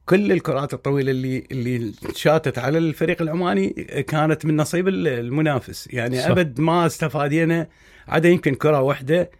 كل الكرات الطويله اللي شاتت على الفريق العماني كانت من نصيب المنافس، يعني صح. ابد ما استفادينا، عدا يمكن كره واحده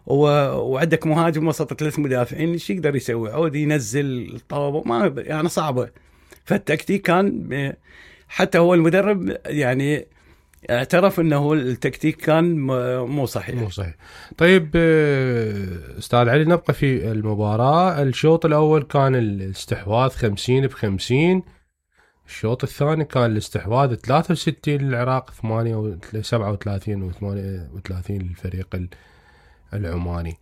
وعندك مهاجم وسط 3 مدافعين، ايش يقدر يسوي؟ عود ينزل الطابه، ما يعني صعبه. فالتكتيك كان، حتى هو المدرب يعني اعترف انه التكتيك كان مو صحيح. طيب استاذ علي، نبقى في المباراة. الشوط الاول كان الاستحواذ 50-50، الشوط الثاني كان الاستحواذ 63 للعراق، 37 و38 للفريق العماني.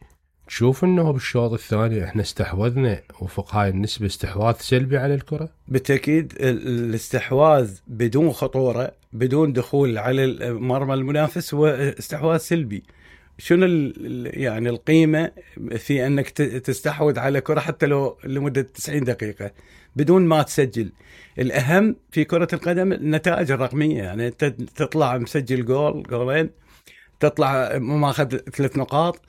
تشوف انه بالشوط الثاني احنا استحوذنا وفق هاي النسبة استحواذ سلبي على الكرة؟ بالتأكيد الاستحواذ بدون خطورة، بدون دخول على مرمى المنافس، هو استحواذ سلبي. شنو يعني القيمة في انك تستحوذ على كرة حتى لو لمدة 90 دقيقة بدون ما تسجل؟ الأهم في كرة القدم النتائج الرقمية، يعني انت تطلع مسجل جولين، تطلع ماخذ 3 نقاط،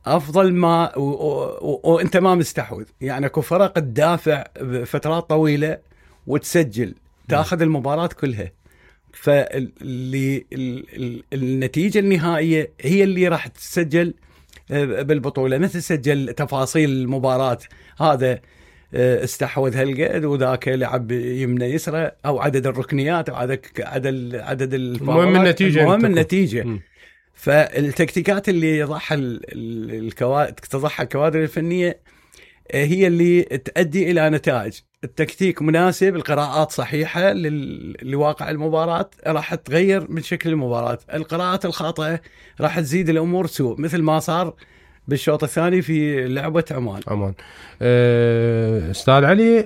افضل ما وانت ما مستحوذ. يعني اكو فرق تدافع فترات طويله وتسجل، تاخذ المباراه كلها. فاللي النتيجه النهائيه هي اللي راح تسجل بالبطوله، مثل سجل تفاصيل المباراه، هذا استحوذ هالقد وذاك لعب يمنى يسرى، او عدد الركنيات، او عدد المهم النتيجه. فالتكتيكات اللي يضعها تضعها الكوادر الفنية هي اللي تؤدي إلى نتائج. التكتيك مناسب، القراءات صحيحة لواقع المباراة، راح تغير من شكل المباراة. القراءات الخاطئة راح تزيد الأمور سوء، مثل ما صار بالشوط الثاني في لعبة عمان. استاذ علي،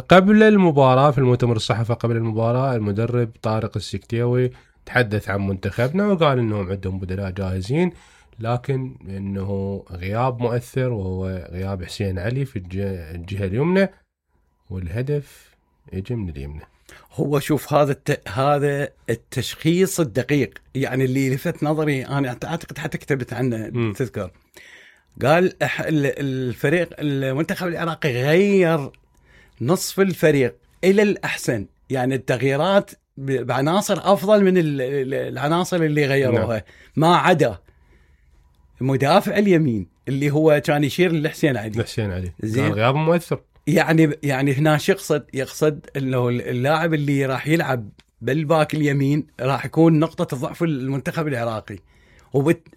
قبل المباراة في المؤتمر الصحفي قبل المباراة، المدرب طارق السكتيوي تحدث عن منتخبنا وقال انهم عندهم بدلاء جاهزين، لكن انه غياب مؤثر وهو غياب حسين علي في الجهة اليمنى، والهدف يجي من اليمنى. هو شوف، هذا التشخيص الدقيق، يعني اللي لفت نظري انا اعتقد حتى كتبت عنه تذكر. قال الفريق المنتخب العراقي غير نصف الفريق الى الاحسن، يعني التغييرات بعناصر افضل من العناصر اللي غيروها. ما عدا مدافع اليمين اللي هو كان يشير لحسين علي. زين، غياب مؤثر. يعني هنا يقصد انه اللاعب اللي راح يلعب بالباك اليمين راح يكون نقطة ضعف المنتخب العراقي،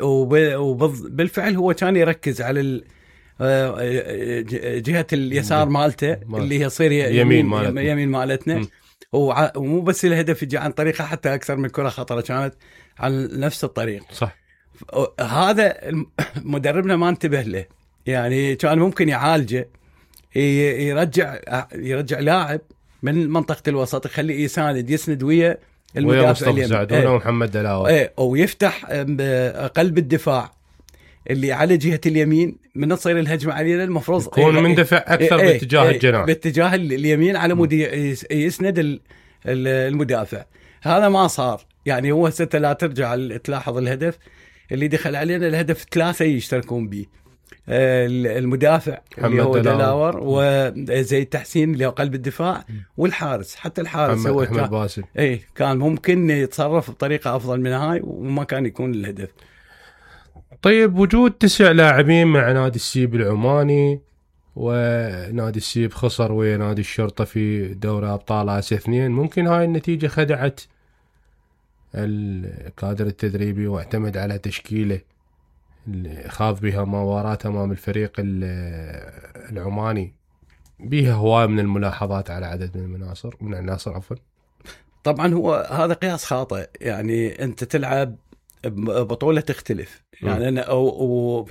وبالفعل هو كان يركز على جهة اليسار مالته اللي هي يصير يمين مالتنا. ومو بس الهدف يجي عن طريقه، حتى أكثر من كرة خطرة كانت عن نفس الطريق. صح. هذا مدربنا ما انتبه له، يعني كان ممكن يعالجه، يرجع لاعب من منطقة الوسط، يخليه يسند ويا المدافع اليمين ومحمد دلاوي، ويفتح قلب الدفاع اللي على جهة اليمين. من تصير الهجمة علينا المفروض يكون مندفع أكثر باتجاه الجناح، باتجاه اليمين، على مود يسند المدافع. هذا ما صار. يعني هو لا ترجع تلاحظ الهدف اللي دخل علينا، الهدف 3 يشتركون به، المدافع اللي هو دلاور، وزي التحسين اللي هو قلب الدفاع، والحارس. حتى الحارس هو كان ممكن يتصرف بطريقة أفضل من هاي، وما كان يكون الهدف. طيب، وجود 9 لاعبين مع نادي السيب العماني، ونادي السيب خسر ويا نادي الشرطة في دوري أبطال آسيا 2، ممكن هاي النتيجة خدعت الكادر التدريبي واعتمد على تشكيله اللي خاض بها مباراة أمام الفريق العماني بها هواية من الملاحظات على عدد من العناصر. طبعا هو هذا قياس خاطئ. يعني أنت تلعب بطولة تختلف، يعني أو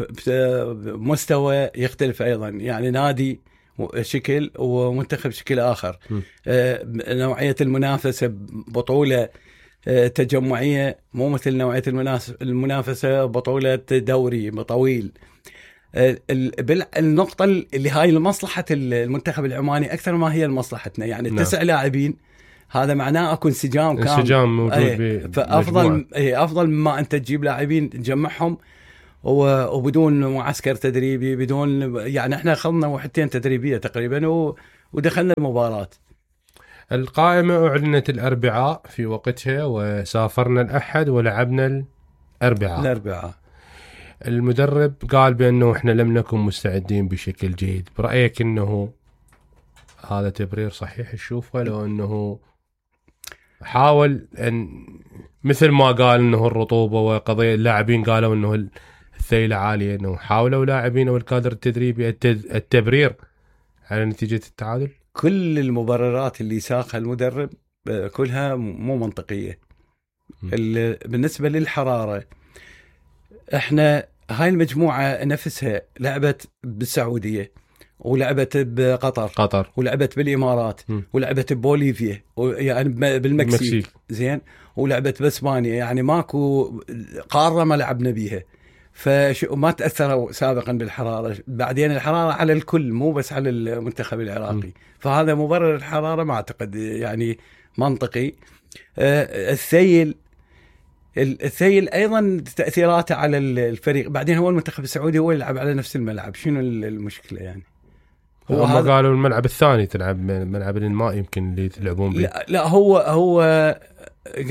مستوى يختلف أيضا، يعني نادي شكل ومنتخب شكل آخر. نوعية المنافسة بطولة تجمعية مو مثل نوعية المنافسة بطولة دوري طويل. النقطة اللي هاي لمصلحة المنتخب العماني أكثر ما هي لمصلحتنا. يعني 9 لاعبين، هذا معناه اكو انسجام موجود. افضل مما انت تجيب لاعبين تجمعهم وبدون معسكر تدريبي، بدون يعني احنا اخذنا وحدتين تدريبيه تقريبا ودخلنا المباراة. القائمة أعلنت الأربعاء في وقتها، وسافرنا الأحد ولعبنا الأربعاء. المدرب قال بأنه إحنا لم نكن مستعدين بشكل جيد. برأيك أنه هذا تبرير صحيح تشوفه، لو أنه حاول أن مثل ما قال أنه الرطوبة وقضية اللاعبين قالوا أنه الثيلة عالية، أنه حاولوا لاعبين والكادر التدريبي التبرير على نتيجة التعادل؟ كل المبررات اللي ساقها المدرب كلها مو منطقية. بالنسبة للحرارة، احنا هاي المجموعة نفسها لعبت بالسعودية ولعبت بقطر ولعبت بالإمارات ولعبت ببوليفيا يعني بالمكسيك زين، ولعبت بإسبانيا، يعني ماكو قارة ما لعبنا بيها. فما تأثروا سابقا بالحرارة. بعدين الحرارة على الكل مو بس على المنتخب العراقي. فهذا مبرر الحرارة ما أعتقد يعني منطقي. الثيل أيضا تأثيراته على الفريق. بعدين هو المنتخب السعودي هو يلعب على نفس الملعب، شنو المشكلة يعني؟ هم قالوا الملعب الثاني تلعب ملعب الماء يمكن اللي تلعبون به. لا هو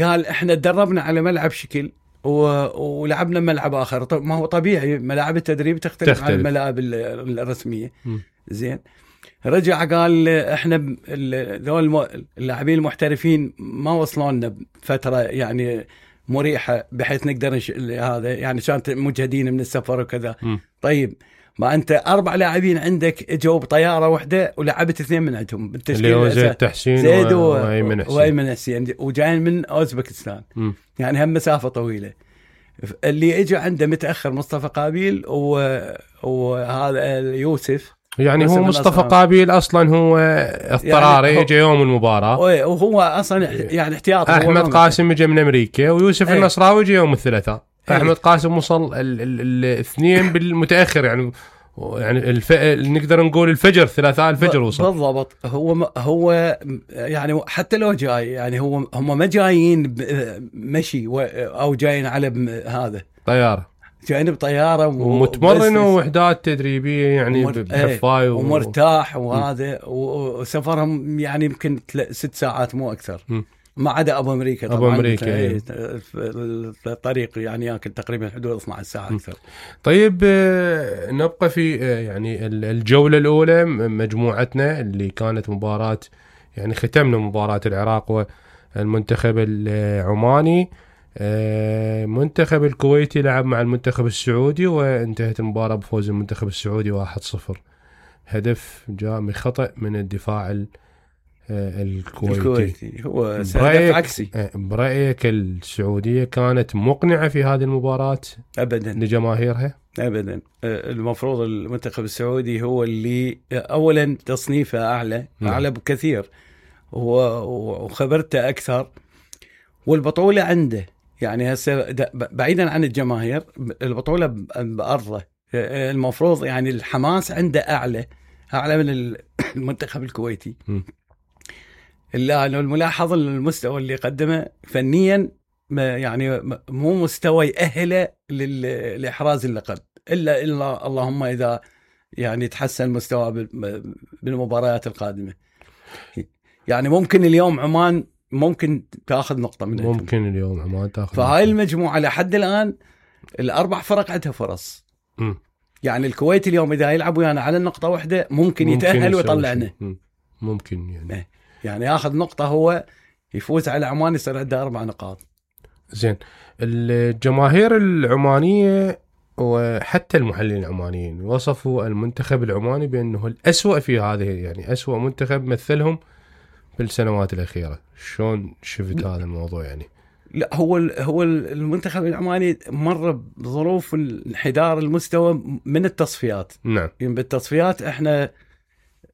قال احنا تدربنا على ملعب شكل ولعبنا ملعب آخر. ما هو طبيعي ملاعب التدريب تختلف عن الملاعب الرسمية. زين، رجع قال احنا ذول اللاعبين المحترفين ما وصلوا لنا فترة يعني مريحة بحيث نقدر هذا يعني كانت مجهدين من السفر وكذا. طيب ما أنت 4 لاعبين عندك اجوا بطيارة واحدة ولعبت 2 من عندهم بالتشكيل، اللي هو زيد تحسين وأيمن حسين وجايين من أوزبكستان. يعني هم مسافة طويلة. اللي اجى عنده متأخر مصطفى قابيل وهذا يوسف، يعني هو مصطفى قابيل أصلا هو اضطراري يعني يجي يوم المباراة، وهو أصلا يعني احتياطي. أحمد قاسم يجي من أمريكا ويوسف النصراوي يجي يوم الثلاثاء. أحمد قاسم وصل الاثنين بالمتأخر يعني نقدر نقول الفجر، ثلاثاء الفجر وصل بالضبط. هو يعني حتى لو جاي يعني هم ما جايين مشي أو جايين على هذا طيارة، جايين بطيارة ومتمرن ووحدات تدريبية يعني بحفاي ومرتاح وهذا وسفرهم يعني يمكن 6 ساعات مو أكثر. ما عدا أبو أمريكا طبعا. أبو أمريكا الطريق يعني ياكل تقريبا حدود 12 ساعة أكثر. طيب نبقى في يعني الجولة الأولى مجموعتنا اللي كانت مباراة، يعني ختمنا مباراة العراق والمنتخب العماني. منتخب الكويتي لعب مع المنتخب السعودي وانتهت المباراة بفوز المنتخب السعودي 1-0. هدف جاء من خطأ من الدفاع الكويتي. هو هدف عكسي. برأيك السعودية كانت مقنعة في هذه المباراة؟ أبدا لجماهيرها أبدا. المفروض المنتخب السعودي هو اللي أولا تصنيفه أعلى بكثير وخبرته أكثر والبطولة عنده. يعني هسه بعيدا عن الجماهير البطولة بأرضه، المفروض يعني الحماس عنده أعلى من المنتخب الكويتي. إلا أنه الملاحظ المستوى اللي قدمه فنيا يعني مو مستوى يأهله لإحراز اللقب، إلا اللهم إذا يعني تحسن مستوى بالمباريات القادمة. يعني ممكن اليوم عمان ممكن تأخذ نقطة منها، ممكن اليوم عمان تأخذ. فهاي المجموعة لحد الآن ال4 فرق عندها فرص. يعني الكويت اليوم إذا يلعب ويانا على النقطة واحدة ممكن يتأهل ويطلعنا. ممكن يعني ياخذ نقطة هو يفوز على عمان يصير عنده 4 نقاط. زين، الجماهير العمانية وحتى المحللين العمانيين وصفوا المنتخب العماني بأنه الأسوأ في هذه، يعني أسوأ منتخب مثلهم بالسنوات الأخيرة. شلون شفت هذا الموضوع يعني؟ لا هو المنتخب العماني مر بظروف انحدار المستوى من التصفيات. نعم. يعني بالتصفيات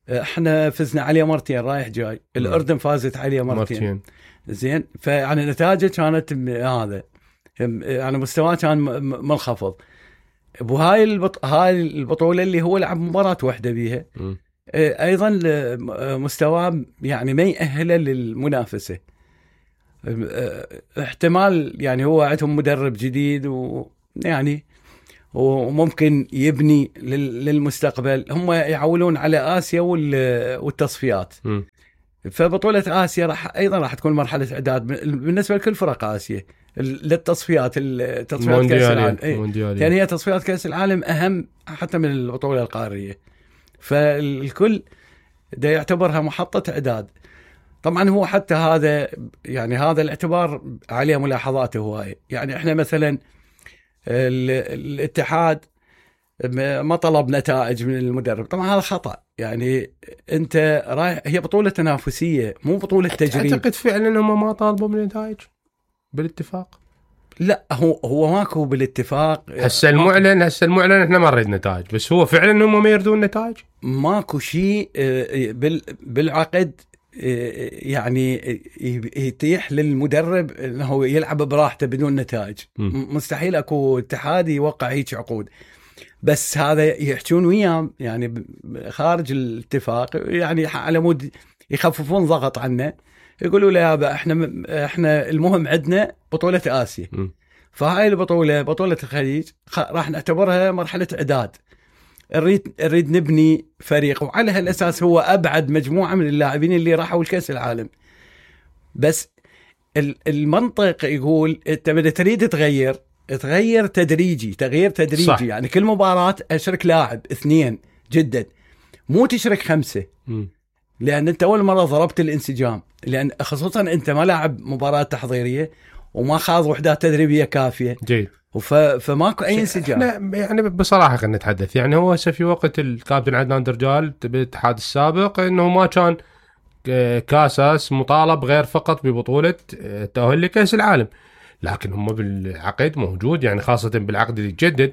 احنا فزنا عليه مرتين رايح جاي. الأردن فازت عليه مرتين. زين، فيعني نتائجه كانت هذا يعني مستواه كان منخفض. وهاي هاي البطولة اللي هو لعب مباراة واحدة بيها ايضا مستواه يعني ما يأهله للمنافسة. احتمال يعني هو عندهم مدرب جديد ويعني وممكن يبني للمستقبل. هم يعولون على آسيا والتصفيات. فبطولة آسيا راح تكون مرحلة إعداد بالنسبة لكل فرق آسيا للتصفيات كأس العالم. يعني هي تصفيات كأس العالم أهم حتى من البطولة القارية، فالكل ده يعتبرها محطة إعداد. طبعا هو حتى هذا يعني هذا الاعتبار عليه ملاحظاته هواية. يعني احنا مثلا الاتحاد ما طلب نتائج من المدرب، طبعا هذا خطأ. يعني انت رايح، هي بطولة تنافسية مو بطولة تجريب. اعتقد فعلا هم ما طالبوا من نتائج بالاتفاق. لا هو ماكو بالاتفاق. هسه المعلن احنا ما نريد نتائج، بس هو فعلا هم ما يردون نتائج. ماكو شيء بالعقد يعني يتيح للمدرب انه يلعب براحته بدون نتائج. مستحيل اكو اتحاد يوقع هيك عقود. بس هذا يحجون وياه يعني خارج الاتفاق، يعني على مود يخففون ضغط عنه، يقولوا له يابا احنا المهم عندنا بطولة آسيا. فهاي البطولة بطولة الخليج راح نعتبرها مرحلة إعداد. نريد نبني فريق، وعلى هالأساس هو أبعد مجموعة من اللاعبين اللي راحوا الكأس العالم. بس المنطق يقول أنت بدأ تريد تغير تدريجي، تغيير تدريجي. صح. يعني كل مباراة أشرك لاعب 2 جدا، مو تشرك 5. لأن أنت أول مرة ضربت الانسجام، لأن خصوصا أنت ما لاعب مباراة تحضيرية وما خاض وحدات تدريبية كافية. جيد. فماكو أي انسجام. يعني بصراحة خلينا نتحدث، يعني هو هسه في وقت الكابتن عدنان درجال بالاتحاد السابق إنه ما كان كاساس مطالب غير فقط ببطولة التأهل لكأس العالم، لكن هم بالعقد موجود، يعني خاصة بالعقد اللي يتجدد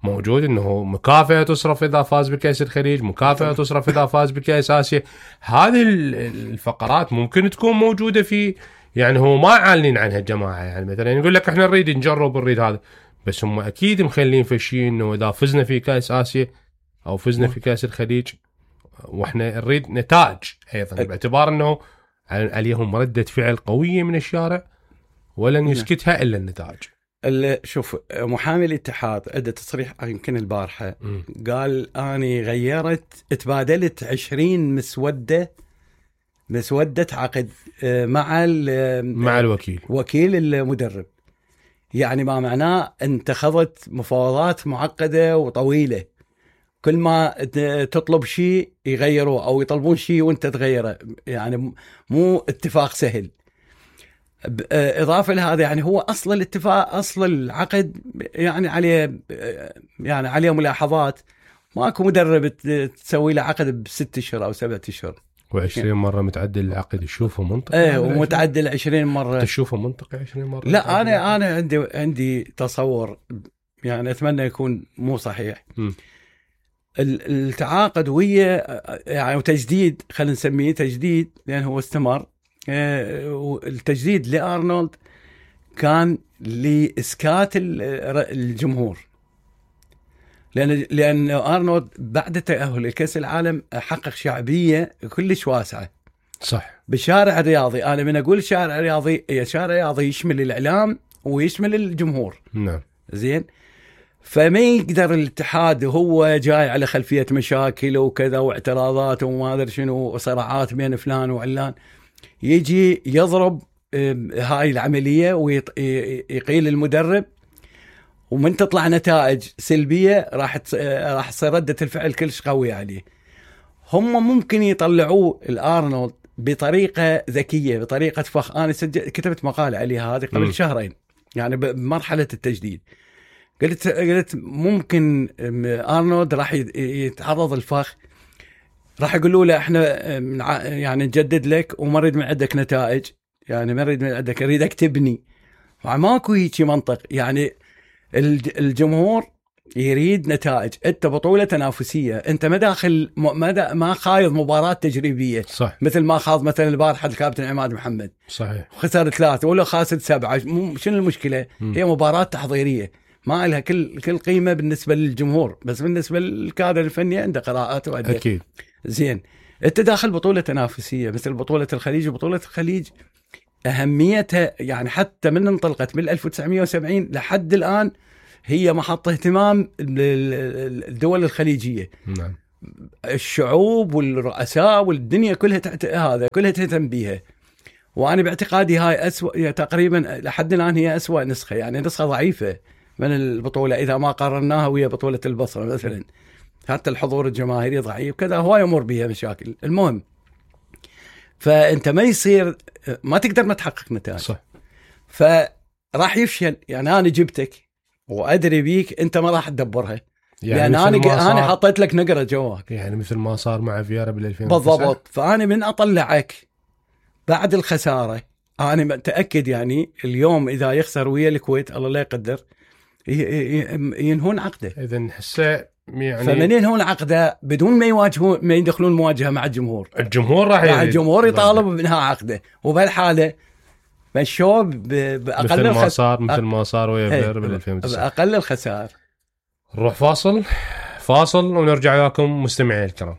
موجود انه مكافأة تصرف اذا فاز بكأس الخليج، مكافأة تصرف اذا فاز بكأس آسيا. هذه الفقرات ممكن تكون موجودة في، يعني هو ما عالين عنها الجماعة. يعني مثلا يقول لك احنا نريد نجرب نريد هذا، بس هم اكيد مخلين في شيء انه اذا فزنا في كأس آسيا او فزنا في كأس الخليج واحنا نريد نتائج ايضا، باعتبار انه عليهم ردة فعل قوية من الشارع ولن يسكتها الا النتائج. شوف، محامي الاتحاد عنده تصريح يمكن البارحة، قال اني تبادلت 20 مسودة عقد مع الوكيل، وكيل المدرب. يعني ما معناه انت خضت مفاوضات معقدة وطويلة، كل ما تطلب شيء يغيروه او يطلبون شيء وانت تغيره، يعني مو اتفاق سهل. إضافة لهذا يعني هو أصل الاتفاق، أصل العقد يعني عليه ملاحظات. ماكو مدرب تسوي له عقد ب6 أشهر أو 7 أشهر و20 مرة متعدل العقد، تشوفه منطقي؟ ومتعدل 20 مرة تشوفه منطقي 20 مرة؟ لا، أنا عندي تصور، يعني أتمنى يكون مو صحيح. التعاقد ويا يعني وتجديد، خلينا نسميه تجديد لأنه هو استمر. التجديد لأرنولد كان لإسكات الجمهور، لأن أرنولد بعد تأهل لكأس العالم حقق شعبية كلش واسعة. صح. بالشارع الرياضي. أنا من أقول شارع رياضي، شارع رياضي يشمل الإعلام ويشمل الجمهور. نعم. زين. فما يقدر الاتحاد وهو جاي على خلفية مشاكل وكذا واعتراضات وما أدري شنو وصراعات بين فلان وعلان، يجي يضرب هاي العملية ويقيل المدرب، ومن تطلع نتائج سلبية راح تصير ردة الفعل كلش قوية عليه. هم ممكن يطلعوه الأرنولد بطريقة ذكية، بطريقة فخ. أنا كتبت مقال عليها هذه قبل 2 شهر، يعني بمرحلة التجديد. قلت ممكن أرنولد راح يتعرض الفخ، راح يقولوا له احنا يعني نجدد لك وما نريد من عندك نتائج، يعني ما نريد من عندك، نريدك تبني. ماكو هيك منطق. يعني الجمهور يريد نتائج. انت بطولة تنافسية، انت ما داخل ما خايض مباراة تجريبية. صح. مثل ما خاض مثلا البارحة الكابتن عماد محمد. صحيح. خسر 3 ولا خاسر 7. شنو المشكلة؟ هي مباراة تحضيرية ما لها كل قيمة بالنسبة للجمهور، بس بالنسبة للكادر الفني عنده قراءات وعنده. أكيد. زين. انت داخل بطولة تنافسية مثل بطولة الخليج. وبطولة الخليج أهميتها يعني حتى من انطلقت من 1970 لحد الآن هي محط اهتمام الدول الخليجيه. نعم. الشعوب والرؤساء والدنيا كلها كلها تهتم بيها. وانا باعتقادي هاي اسوء تقريبا لحد الان، هي اسوء نسخه، يعني نسخه ضعيفه من البطوله اذا ما قارناها ويا بطوله البصره مثلا. حتى الحضور الجماهيري ضعيف كذا، هو يمر بها مشاكل. المهم، فانت ما يصير ما تقدر ما تحقق نتائج، صح. فراح يفشل. يعني انا جبتك وادري بيك انت ما راح تدبرها، يعني انا حطيت لك نقره جواك، يعني مثل ما صار مع فييرا بال2009 بالضبط. فانا من اطلعك بعد الخساره، انا متاكد يعني اليوم اذا يخسر ويا الكويت الله لا يقدر ينهون عقده. اذا نحسه يعني فمن ينهون عقده بدون ما يواجهون، ما يدخلون مواجهه مع الجمهور الجمهور يطالب بانهاء عقده. وبهالحاله مشوه باقل مثل ما صار ويا فييرا بال2009 باقل الخسائر. نروح فاصل ونرجع وياكم مستمعي الكرام.